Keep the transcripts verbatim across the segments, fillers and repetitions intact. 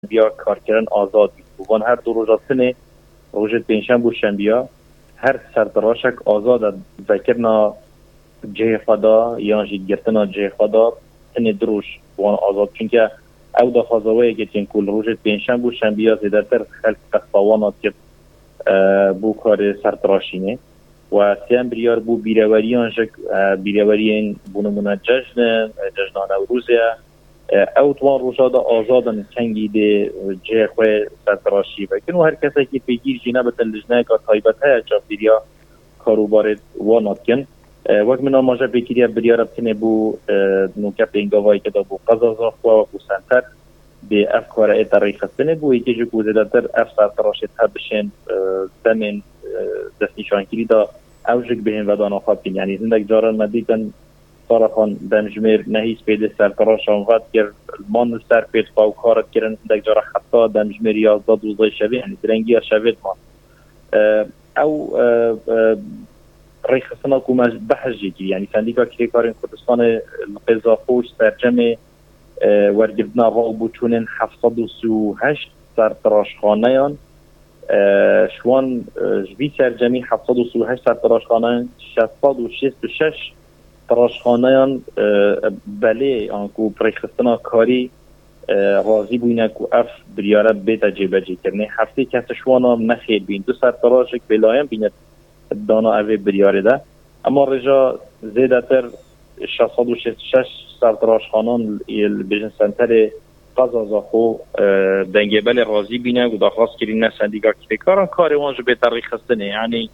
şembiya karkirin azad bî. Û van her du roja tinê, rojê pêncşemb û şembiya, her sertiraşek azad e vekirina cihê xwe da yan jî girtina cihê xwe da, tinê du roj wan azad. Çunke ew daxwaza wê yekê tên ku li rojê pêncşemb û şembiya zêdetir xelk qesta wan dikin, e, bo karê sertiraşînê. Û sêyem biryar bû bîreweriyan jî, e, bîreweriyên bo nimûne cejn in, e, cejna Newrozê ye. E, ew di wan roja de azad in, kengî dê, e, cihê xwe sertiraşî vekin û her kesekî pêgîr jî nebitin, lijneyeka taybet heye çavdêriya karûbarê wan dikin. E, wek min amaje pê kiriye, biryara tinê bo, e, nûke pêngavayeke de bo qeza Zaxo wekû senter dê ev kare ête rêxistinê bo yekê jî ku zêdetir ev sertiraşê tebişên, e, demên, e, destnîşankirî de ew jî bihên vedana xwe bikin. Yanî hindek caran me dîtin, Saraxan, demjimêr nehîs pê dê sertiraşan vedikir, man li ser pê dixwe û kar dikirin, hindek cara heta demjimêr yazdeh dozdeh şevê, yanî direngiya şevê diman. E, ew, e, e, rêxistina ku me behs jê kir, yanî Sendîka Kirêkarên Kurdistanê li qê Zaxo ji sercemê, e, wergirtina raw bû çûnên heft sed û sî û heşt sertiraşxaneyan, e, ji wan, e, ji vî sercemî heft sed û sî û heşt sertiraşxaneyan, şeş sed û şêst û şeş tiraşxaneyan, e, belê an ku bi rêxistina karî, e, razî bûyne ku ev biryare bête cêbecêkirinê. Heftê kes ji wana nexêr bîn. Du sertiraşek bêlayan bîne dana evê biryarê de. Ema rêja zêdetir şeş sed û şêst û şeş sertiraşxanan li bêjin senterê qeza Zaxo, e, dengê belê razî bîne û daxwaz kirîne Sendîka Kirêkaran karê wan jî bête rêxistinê. Yanî,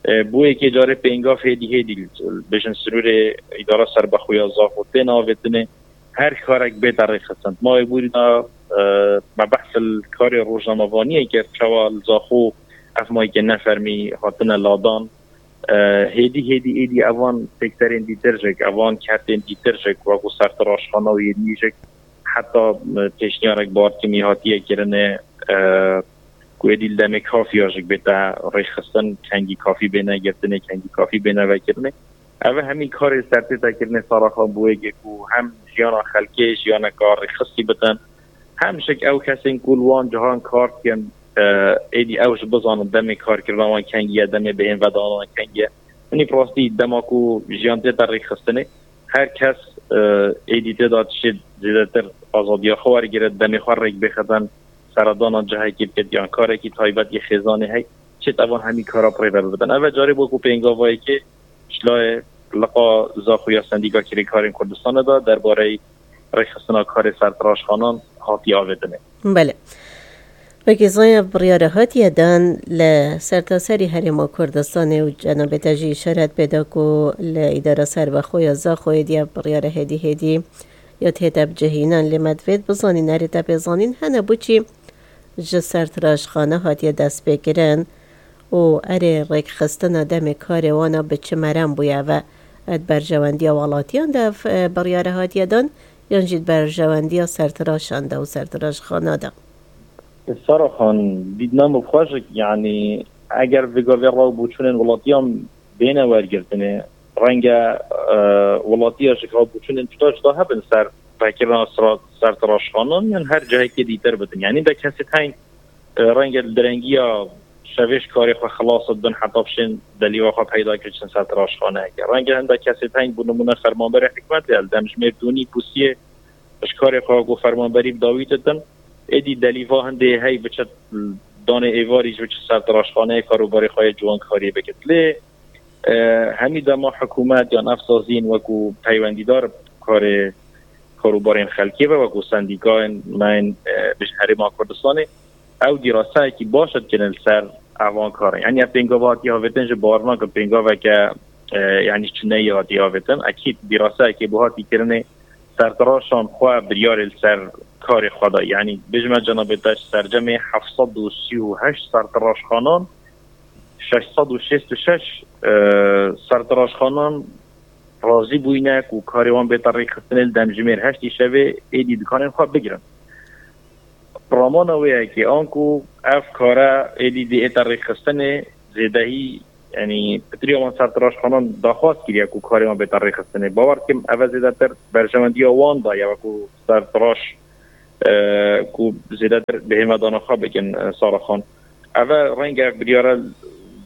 e, bo yekê carê pêngav hêdî hêdî li bêjin sinûrê îdara serbexwe ya Zaxo tên avêtinê. Her karek bête rêxistin. Ma wê borî de, e, me behs li karê rojnamevaniyê kir, çawa li Zaxo ev mayîkê nefermî hatine ladan. E, hêdî hêdî êdî evan sektörên dîtir jî, evan kertên dîtir jî, wekû sertiraşxana û yên nî jî, heta, e, pêşniyarek bi hatimî hatiye kirinê, e, ku êdî li demê kafiya jî bête rêxistin, kengî kafî bêne girtinê, kengî kafî bêne vekirinê. Ev hemî karê sertêtekirinê Saraxan bo yekê ku hem jiyana xelkê jiyaneka rêxistî bitin, hem jî ew kesên ku li wan cihan kar dikin, e, êdî ew jî bizanin demê karkirina wan kengî ye, demê bihên vedana wan kengî ye. Hinî bi rastî dema ku jiyan tête rêxistinê, her kes, e, êdî tê de tiştê zêdetir azadiya xwe wergirit, demê xwe rêk bêxetin, seredana cihekî bikit yan karekî taybet yê xêzanê hey, çêt evan hemî kara bi rê ve bibidin. Ev e carê bû ku pêngavayekê ji layê liqa Zaxo ya Sendîka Kirêkarên Kurdistanê de derbareyî rêxistina karê sertiraşxanan hatiye avêtinê. Belê. Wekî zaya biryara hatiye dan li sertaserî Herêma Kurdistanê û cenabê te jî îşaret pê da ku li îdara serbexwe ya Zaxoyê diya biryara hêdî hêdî ya tête bicihînan, lê me divêt bizanîn, erê te pê zanîn hene bo çî ji sertiraşxane hatiye destpêkirin û erê rêkxistina demê karê wana bi çi merem bûye ve? Di berjewendiya welatiyan de ev, e, biryare hatiye dan yan jî di berjewendiya sertiraşan de û sertiraşxana de? Saraxan, dîtina min bi xwe jî, yanî eger vê gavê raw bûçûnên welatiyan bêne wergirtinê, renge, e, welatiya jî raw bûçûnên cuda cuda hebin ser vekirina sera-, sertiraşxanan yan her cihekê dîtir bidin. Yanî de kesê teng, e, renge li direngiya şevê ji karê xwe xilas dibin heta bişên delîva xwe peyda kir çin sertiraşxaneyeke. Renge hindek kesê teng bo nimûne fermanberê hikûmetê li demjimêr dûnî pûsiyê ji karê xwe ku fermanberî bi dawî ditin. Êdî delîva hindê hey biçe danê êvarî ji biçe sertiraşxaneyê karûbarê xwe yê ciwankariyê bikit. Lê, e, hemî dema hikûmet yan ev saziyên wekû peywendîdar karê karûbarên xelkê ve, wekû sendîkayên me yên, e, bijin Herêma Kurdistanê, ew dîraseyekî baş dikin li ser evan karin. Yanî ev pêngava hatiye avêtin jî bawer nakim pêngaveke, e, yanî çi neyê hatiye avêtin. Ekîd dîraseyekê bo hatî kirinê sertiraşan xwe biryarê li ser karê xwe da. Yanî bijime cenabê te ji sercemê heft sed û sî û heşt sertiraşxanan şeş sed û şêst û şeş, e, sertiraşxanan razî bûyne ku karê wan bête rêxistinê li demjimêr heştî şevê êdî dikanên xwe bigirin. Ramana wê yekê anku ev kare êdî dê ête rêxistinê zêdehî, yanî pitirî wan sertiraşxanan daxwaz kiriye ku karê wan bête rêxistinê. Bawer dikim ev e zêdetir berjewendiya wan da ye wekû sertiraş, e, ku zêdetir bihême dana xwe bikin, e, Sara Xan. Ev e renge ev biryare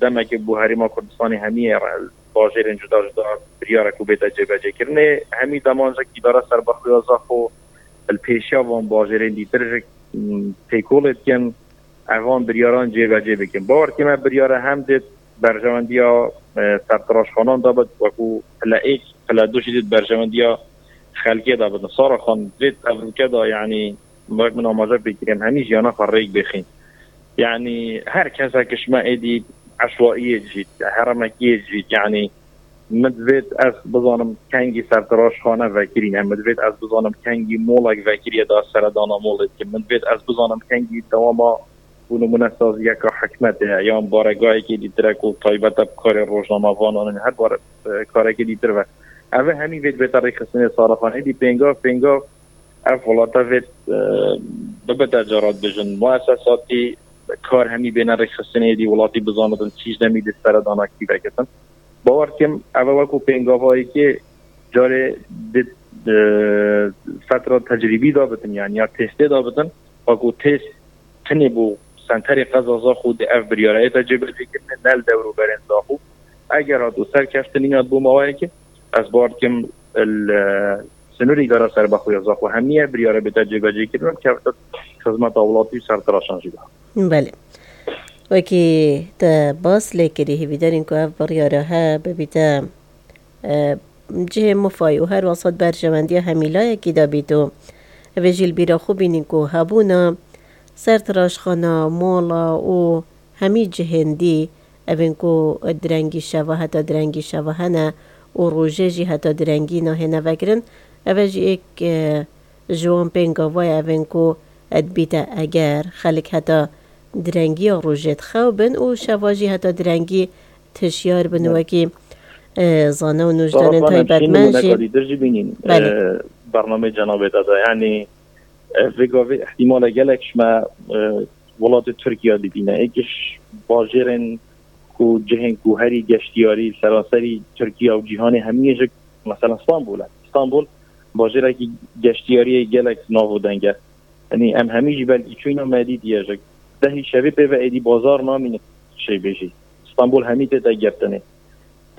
demekê bû Herêma Kurdistanê hemiyê re-, bajêrên cuda cuda biryare ku bête cêbecêkirinê. Hemî deman jek îdara serbexwe ya Zaxo li pêşiya van bajêrên dîtir jek, m, têkolê dikin, evan biryaran cêbecê bikin. Bawer dikim ev biryare hem dê berjewendiya, e, sertiraşxanan de bit, wekû pile êk, pile du jî dê berjewendiya xelkê de bidin. Sara Xan, vê tevrûke de, yanî, wek min amaje pê kirî, em hemî jiyana xwe rêk bêxîn. Yanî, her kesek ji me êdî eşwaiyê dijît, heremekiyê dijît, yanî, min divêt ez bizanim kengî sertiraşxane vekirîne, min divêt ez bizanim kengî molek vekiriye da seredana molê dikim, min divêt ez bizanim kengî dewama, bû nimûne, saziyeka hikmetê ye, yan baregahekê dîtir e ku taybet e bi karê rojnamevanan, her bare, e, karekê dîtir ve. Ev e hemî vê dibête rêkxistinê Sara Xan. Êdî pêngav, pêngav ev welata vê, e, bibite cara dibêjin muesesatî, kar hemî bêne rêkxistinê, êdî welatî bizanitin çî ji demî dê seredana kî vekitin. Bawer dikim, ev e wekû pêngavayekê carê dê, e, fetra tecrîbî da bitin, yanî ya testê da bitin, wekû test tinê bû senterê qeza Zaxo dê ev biryareyê te cêbecêkirine, ne li dewrûberên Zaxo. Eger hat û serkeftinî hat bû maweyekê, ez bawer dikim li, e, sinûrê îdara serbexwe ya Zaxo hemiye biryare bête cêbecêkirin, kevte xizmeta welatî û sertiraşan jî de. Belê. Wekî te bas lê kirî, hêvîdarîn ku ev biryare he bibîte, e, cihê mifayî û her wesat berjewendiya hemî layekî de bît û evê jî li bîra xwe bînîn ku hebûna sertiraşxana, mola û hemî cihên dî, evên ku direngî şeva heta direngî şeva hene û rojê jî heta direngî nahêne vekirin, eve jî êk, e, ji wan pêngava ye, evên ku dibîte eger xelk heta direngiya rojê dixew bin û şeva jî heta direngî tişyar bin, wekî, e, zane û nûjdarên taybetmend jî. Dîtir jî bînîn, e, bernameyê cenabê te de. Yanî, e, vê gavê ihtimale gelek ji me, e, welatê Tirkiye dibîne. Êk ji bajêrên ku cihên ku herî geştiyarî seranserî Tirkiye û cîhanê hemiyê ji, mesela, Stenbul e. Stenbul bajêrekî geştiyariyê gelek nav û deng e. Yanî em hemî jî belkî çûyna me dîtiye ji dehî şevê pê ve êdî bazar namîne çêbêjî. Stenbul hemî tête girtinê.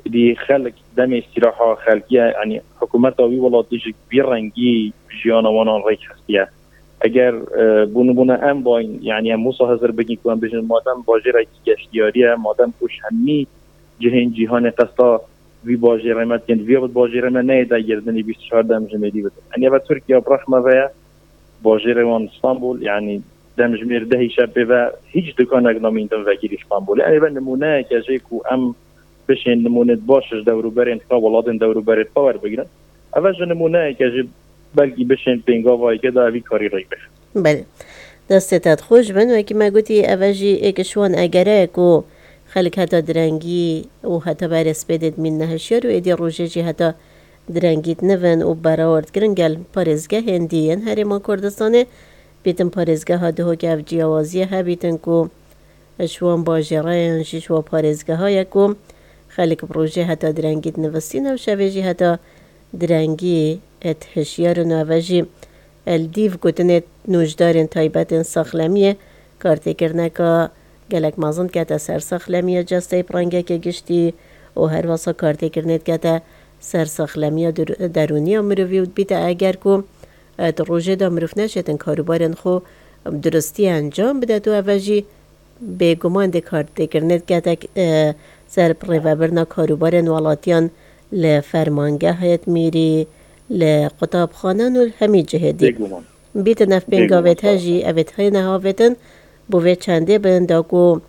Êdî xelk demê îstîraha xelkiye, yanî hikûmeta wî welatî ji vî rengî jiyana wanan rêk xistiye. Eger, e, bû nimûne em bayn, yanî em wisa hizir bikin ku em bêjin madem bajêrekî geştiyarî ye, madem ku ji hemî cihên cîhanê qesta vî bajêrê me dikin, vîya bit bajêrê me neyê dagirtinê bîst û çar demjimêrî bidin. Yanî eve Tirkiye bi rexme ve ye, bajêrê wan Stenbul, yanî demjimêr dehî şevê pê ve hîç dikanek namîndin vekirî Stenbulê. Yanî ve nimûneyeke jê ku em bişên nimûnê baş ji dewrûberên xwe, welatên dewrûberê xwe werbigrin. Eve ji nimûneyeke jî belkî bişên pêngavayeke de evî karî rêk bixin. Belê. Destê te xweş bin. Wekî me gotî, eve jî êk ji wan egere ye ku xelk heta direngî û heta berê spêdê dimîn nehişyar û êdî rojê jî heta direngî dinivin û berawerd kirin gel parêzgehên dî yên Herêma Kurdistanê bîtin parêzgeha Duhokê, ev ciyawaziyê hebîtin ku ji wan bajêreyan jî ji wan parêzgeha ye ku xelk bi rojê heta direngî dinivistîne û şevê jî heta direngî dihişyarin û eve jî li dîv gotinê nûjdarên taybetên saxlemiyê kartêkirineka gelek mezin dikete ser saxlemiya cesteyê bi rengekê giştî û her wesa kartêkirinê dikete ser saxlemiya der-, derûniya mirovî û dibîte eger ku, e, di rojê de mirov neşêtin karûbarên xwe bi duristî encam bidet û eve jî bêguman dê kartêkirinê dikete, e, ser bi rêvebirina karûbarên welatiyan li fermangehê mîrî, li qutabxanan û li hemî cihê dî. Bêguman. Bîtin ev pêngavê te jî, evê têne havêtin, bo vê çendê bin, da ku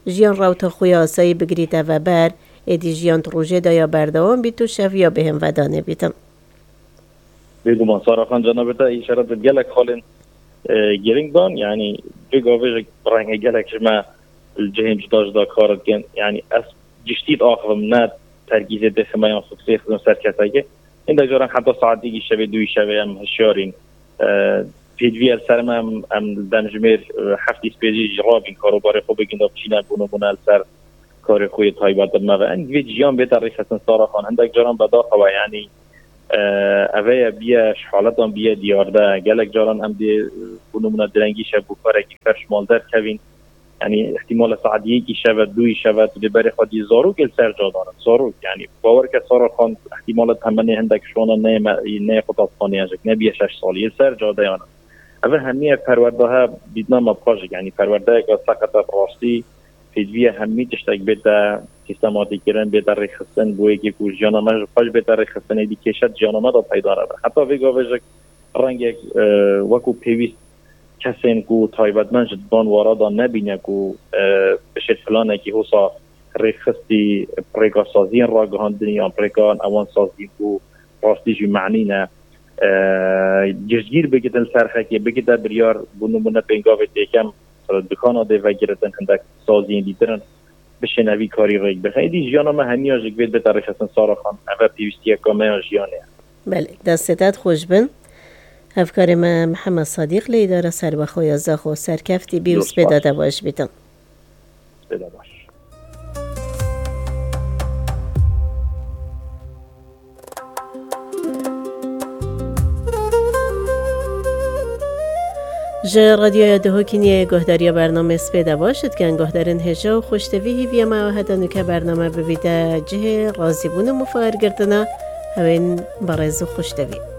jiyan rewta xwe ya asayî bigirîte veber, êdî jiyan di rojê de ya berdewam bît û şev ya bêhn vedanê bîtin. Bêguman, Sara Xan, cenabê te îşaret bi gelek xalên, e, girîng dan, yanî vê gavê jî renge gelek ji me li cihên cuda cuda kar dikin. Yanî ez giştî diaxivim, ne terkîzê dixime yan fokusê dixim ser kesekê. Hindek caran heta saetêkî şevê, duyî şevê em hişyarîn. E, pêdivî li ser me em, em demjimêr, e, heftî spêcî jî rabîn karûbarê xwe bikin da biçîne bû nimûne li ser karê xwe yê taybet bi me ve. Em divê jiyan bête rêxistin Sara Xan. Hindek caran bedaxewe, yanî Ev ê biye ji haletan biye diyarde. Gelek caran em dê, bo nimûne, direngî şev bo karekî ferş mal derkevîn. Yanî, îhtîmale saet yekî şeve, duyî şeve, tu dê berê xwe dî zarokê li ser cadan in. Zarok, yanî, bawer ke Sara Xan îhtîmale temenê hindek ji wana neyê me, neyê xwe taspaniya jik, nebiye şeş salî, li ser cadeyan in. Ev hemî ev perwerdahe dîtina me bi xwe jik, yanî, perwerdeyeke seqet e bi rastî. Pêdiviye hemî tiştek bête sîstematîkirin, bête rêxistin, bo yekê ku jiyana me ji xwe jî bête rêxistin, êdî kêşet jiyana me de peyda nebe. Heta vê gavê jik rengek, e, wekû pêwîst kesên ku taybetmend ji van wara de nebîne ku, e, bişêt planekî hosa rêxistî, bi rêka saziyên ragihandinê yan bi rêka ewan saziyên ku rastî jî manî ne, e, giştgîr bigitin li ser xelkê, bigite biryar, bo nimûne pêngavê têkem, e, dukana dê vegiritin, hindek saziyên dîtir in, bişêne vî karî rêk bixin. Êdî jiyana me hemiya jik vê bête rêxistin, Sara Xan. Ev e pêwîstiyeka me ya jiyanê ye. Belê, destê te xweş bin. Hevkarê me Mihemed Sadîq li Îdara Serbixwe ya Zaxo, serkeftî bî û spêda te baş bîtin. Spêda baş. Ji Radyoya Duhokîniyê guhdariya bernamê Spêda baş dikin. Guhdarên hêja û xweştevî, hîviya me ew e heta nûke bername bibîte cihê razîbûn û mifargirtina hewên berêz û xweştevî.